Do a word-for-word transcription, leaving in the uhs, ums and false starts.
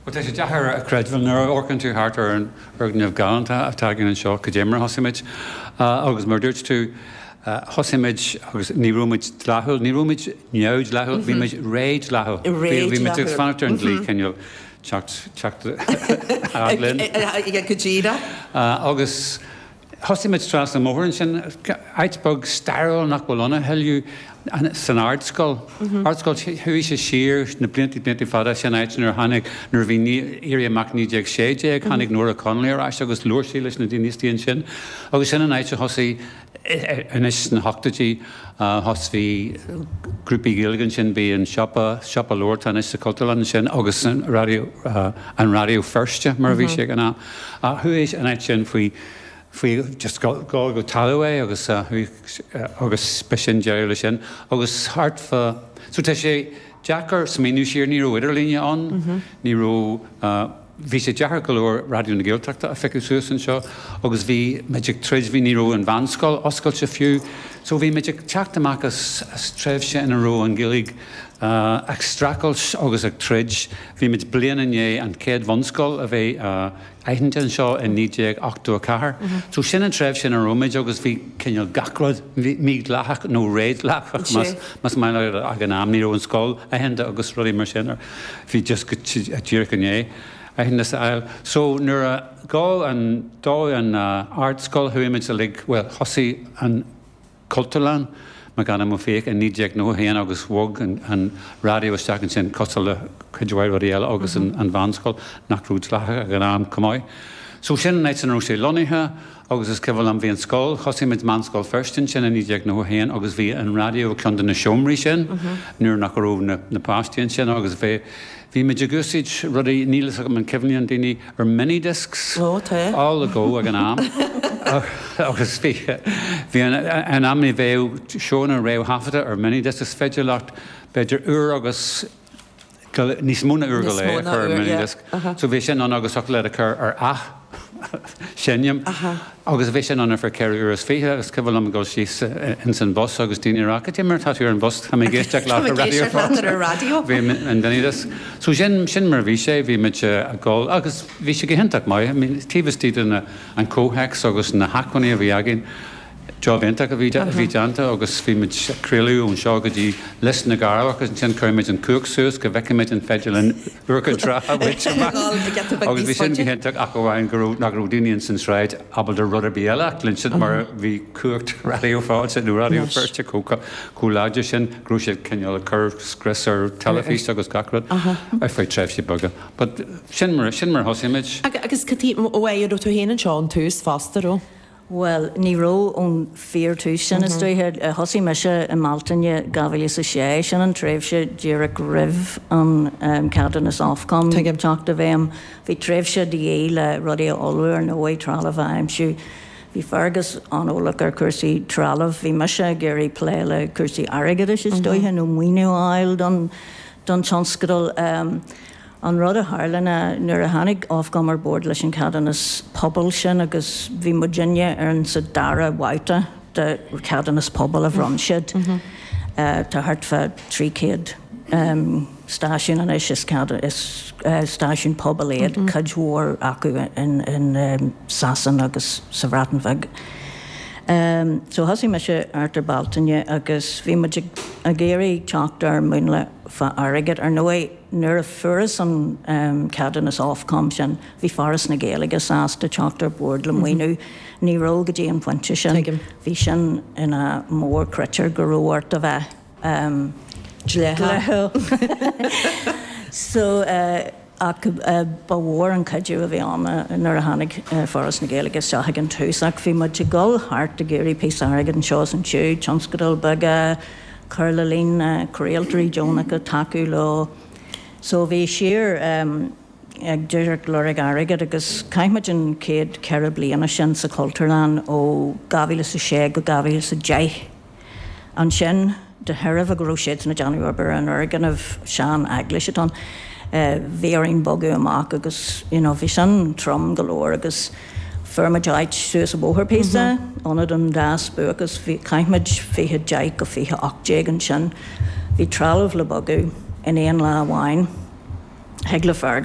Well tá sé deacair a chreidiúint nuair a amharcann tú thart ar an fhoirgneamh galánta atá againn anseo go dtí mar a thosaigh muid agus mar dúirt tú thosaigh muid agus ní raibh muid dleathúil, ní raibh muid neamhdhleathúil, bhí muid rédhleathúil. Bhí muid ag fanacht ar an dlí cineál teacht teacht linn. Go díreach. Agus thosaigh muid trasna an bhóthair ansin, áit beag stairiúil nach bhfuil ann a thuilleadh san Ardscoil. Ardscoil chuaigh sé siar na blianta blianta fada sin áit nuair a tháinig nuair a bhí Éirí Amach naoi déag sé déag, tháinig Nóra Connolly ar ais agus labhair sí leis na daoine istigh ansin. Agus sin an áit a thosaigh anois sna hochtóidí thos bhí grúpaí Gaeilge ansin, bhí an siopa siopa leabhar atá anois sa Chultúrlann ansin agus an raidió an Raidió Feirste mar a bhí sé ag an am. Chuaigh an áit sin faoi faoi just go go talamh é agus agus b'shin deireadh leis sin agus thart fá so tá sé deacair smaoineamh siar ní raibh idirlíne ann, ní raibh bhí sé deacair go leor Raidió na Gaeltachta a phiocadh suas anseo agus bhí muid ag troid bhí ní raibh an mheánscoil oscailte fiú so bhí muid ag teacht amach as as tréimhse ina raibh an Ghaeilge ag streachailt agus ag troid bhí muid bliain i ndiaidh an chéad bhunscoil a bheith aitheanta anseo in naoi déag ochtó a ceathair. So sin an tréimhse ina raibh muid agus bhí cineál gach rud mídhleathach nó rédhleathach más más maith leat ag an am ní raibh an scoil aitheanta agus rudaí mar sin bhí just go díreach i ndiaidh aitheantas a fháil. So nuair a ghabh an dódh an ardscoil chuaigh muid uilig well thosaigh an Cultúrlann Mac Anna Ó Fiaich in naoi déag nócha haon agus bhog an an raidió isteach ansin cosúil le cuid mhaith rudaí eile agus an an mheánscoil nach raibh dleathach ag an am chomh maith. So sin an áit ina raibh sé lonnaithe agus is cuimhin liom bhí an scoil, thosaigh muid Meánscoil Feirste ansin in naoi déag nócha haon agus bhí an raidió i gceann de na seomraí sin nuair nach raibh na na páistí ansin agus bhí bhí muid ag úsáid rudaí níl fhios agam an cuimhníonn daoine ar minidiscs Ó tá. all go ag an am agus bhí bhí an an am ní bheadh seónna réamhthaifeadta ar minidisc is féidir leat b'fhéidir uair agus níos mó ná uair go leith a chur ar minidisc. So bhí sin ann agus thiocfadh leat a chur ar athsheinm agus bhí sin ann ar feadh ceithre uair is fiche agus cuimhin liom dul síos ins an bus agus daoine ag rá cad é mar tá tú ar an bhus tá mé ag éisteacht leat ar raidió ar raidió. Bhí an minidisc. So sin sin mar a bhí sé bhí muid ag dul agus bhí sé go hiontach maith. I mean taobh istigh de na an comhthéacs agus na hacmhainní a bhí againn. Job iontach a bhí a bhí déanta agus bhí muid ag craoladh ón seo go dtí Lios na gCearrbhach agus ansin chuir muid an cumhacht suas go bhfeicfidh muid an féidir linn Iúr Cinn Trá a bhaint amach agus bhí sin go hiontach ach amháin go raibh nach raibh daoine ins an sráid ábalta rud ar bith eile a chluinstin mar bhí cumhacht Raidió Fáilte nó Raidió Feirste chomh chomh láidir sin go raibh siad cineál ag cur scrios ar teilifís agus gach rud ar feadh tréimhsí beaga. But sin mar sin mar a thosaigh muid. Agus cad é raibh tú féin anseo ón tús fosta raibh? Bhuel, ní raibh ón fíorthús sin is dóiche. Thosaigh mise i mBealtaine dhá mhíle is a sé, sin an tréimhse díreach roimh an ceadúnas Ofcom teacht i bhfeidhm. Bhí tréimhse de dhíth le rudaí a ullmhú ar ndóigh, trealamh a aimsiú. Bhí Fergus an-eolach ar chúrsaí trealamh. Bhí mise ag iarraidh plé le cúrsaí airgeadais is dóiche nó maoiniú a fháil don don tionscadal. An rud a tharla ná nuair a tháinig Ofcom ar bord leis an cheadúnas pobail sin agus bhí muidinne ar an sa dara babhta de cheadúnas pobail a bhronn siad. Tá thart fá trí chéad stáisiún anois is is stáisiún pobail iad, cuid mhór acu in in Sasana agus sa Bhreatain Bheag. So thosaigh mise thart ar Bealtaine agus bhí muid ag ag iarraidh teacht ar mhúnla fá airgead. Ar ndóigh nuair a fuarthas an ceadúnas Ofcom sin, bhí Foras na Gaeilge sásta teacht ar bord le maoiniú. Ní raibh go dtí an pointe sin. Bhí sin ina mhórchritéar go raibh ort a bheith dlíthiúil. So ach ba mhór an cuidiú a bhí ann nuair a tháinig Foras na Gaeilge isteach ag an tús ach bhí muid ag dul thart ag iarraidh píosa airgid anseo is ansiúd, tionscadail beaga, cur le líon na craoltóirí deonacha, tacú leo. So bhí siar ag díreach lorg airgead agus chaith muid an chéad ceithre bliana sin sa Chultúrlann ó dhá mhíle is a sé go dhá mhíle is a deich. Ansin de thairbhe go raibh siadsan ag déanamh obair ar an fhoirgneamh sean eaglais atá ann, bhí orainn bogadh amach agus you know bhí sin trom go leor agus fuair muid áit suas an bóthar píosa, Ionad an Dá Spuaic agus bhí chaith muid fiche deich go fiche ocht déag ansin. Bhí trealamh le bogadh in aon lá amháin. Thig le Fergus